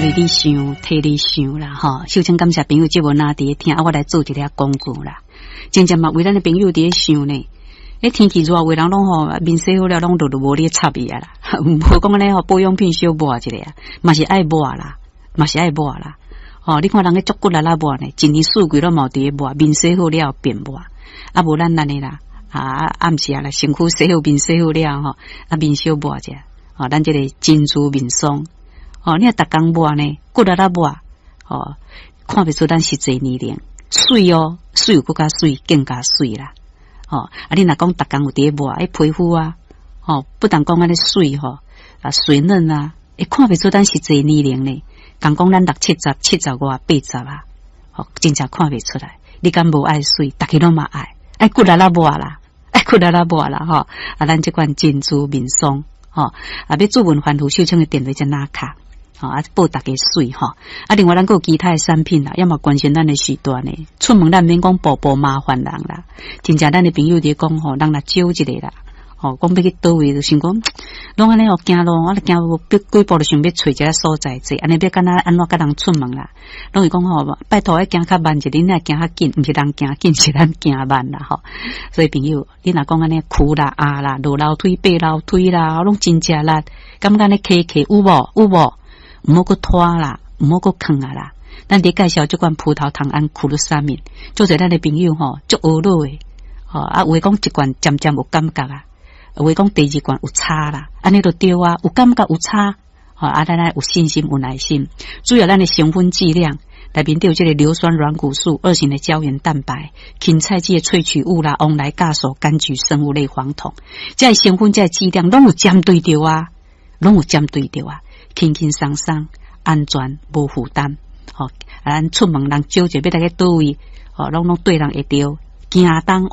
為你想，替你想啦，吼。首先感謝朋友節目若佇咧聽，啊，我來做一下廣告啦。真正嘛，為咱的朋友佇咧想呢。欸，天氣熱，有的人攏吼面洗好了，攏就無咧插伊啊啦。無講按呢吼，保養品小抹一下啊，嘛是愛抹啦，嘛是愛抹啦。吼，你看人咧足骨力啦抹呢，一年四季攏嘛有佇咧抹，面洗好了便抹。啊，無咱按呢啦，啊，暗時啊啦，身軀洗好，面洗好了吼，啊，面小抹者，吼，咱這個珍珠面霜。哦，你若逐工抹呢，骨力啦抹，吼，看袂出咱實際年齡，媠哦，媠有閣較媠，更加媠啦。吼，啊，你若講逐工有佇咧抹，欸，皮膚啊，吼，不但講按呢媠吼，啊，水嫩啊，會看袂出咱實際年齡呢。共講咱六七十、七十外、八十啊，吼，真正看袂出來。你敢無愛媠？逐家攏嘛愛，愛骨力啦抹啦，愛骨力啦抹啦，吼。啊，咱這款珍珠面霜，吼，啊，欲諮問番號秀清的電話才哪卡。吼，啊，報逐家媠吼，啊，另外咱閣有其他的產品啦，也嘛關心咱的時段呢。出門咱免講步步麻煩人啦，真正咱的朋友佇咧講吼，人若少一个啦，吼，講欲去佗位就想講，攏按呢吼行路，我咧行幾步就想欲揣一个所在坐，按呢欲敢若按怎佮人出門啦？攏會講吼，拜託愛行較慢一點，你若行較緊，毋是人行緊，是咱行慢啦吼。所以朋友，你若講按呢跍啦、壓啦、落樓梯、爬樓梯啦，攏真食力，感覺按呢磕磕有無？有無？毋好閣拖啦，毋好閣囥啊啦。咱佇介紹這款葡萄糖胺苦魯沙敏，做者咱的朋友吼，足懊惱的，吼啊，有的講一罐漸漸有感覺啊，有的講第二罐有差啦，按呢就對啊，有感覺有差，吼啊，咱愛有信心有耐心，主要咱的成分劑量內面都有這個硫酸軟骨素、二型的膠原蛋白、芹菜籽的萃取物啦、黃來酵素、柑橘生物類黃酮，這個成分這個劑量攏有針對著啊，攏有針對著啊。輕輕鬆鬆，安全無負擔，吼！啊，咱出門人少者欲來去佗位，吼，攏對人會著，驚東